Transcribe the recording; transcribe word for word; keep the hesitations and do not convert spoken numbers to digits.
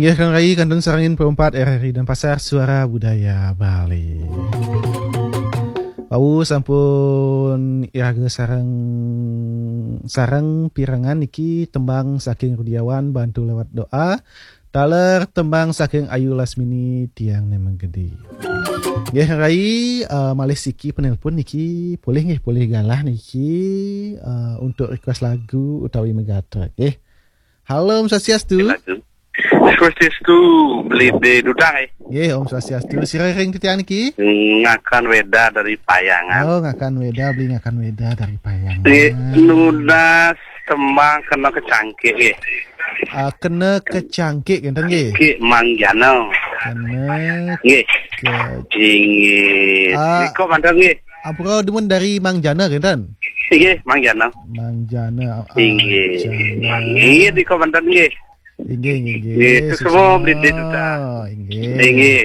Ya, Kang Rai, kantun sarengin perempat R R I Denpasar, Suara Budaya Bali. Wau sampun iraga sareng, sareng pirengang niki tembang saking Rudiawan, Bantu Lewat Doa, taler tembang saking Ayu Lasmini, Tiang Nemeng Gedi. Nggih, Rai, eh, malih siki penelpon niki, polih nggih, polih galah niki, eh, untuk request lagu utawi megatrek nggih. Halo, Om Swastiastu. Lagu. Swastiastu, Beli Duda, eh. Nggih, Om Swastiastu. Sira ring titiang niki? Ngakan Weda dari Payangan. Oh, Ngakan Weda, Beli Ngakan Weda dari Payangan. Nggih, nunas tembang kena kecangkik, nggih. Ah, kena kecangkik, ngenten nggih? Cangkik Mang Jana. Kena Nggih. ke- Inggih. Ah. Nika manten, nggih. Ampura dumun dari Mang Jana, ngenten? Inggih, Mang Jana. Mang Jana. Ah, Inggih. Jana. Inggih, nika manten, nggih. Inggih, inggih, inggih. Nggih, itu semua Beli Duda. Inggih. Inggih.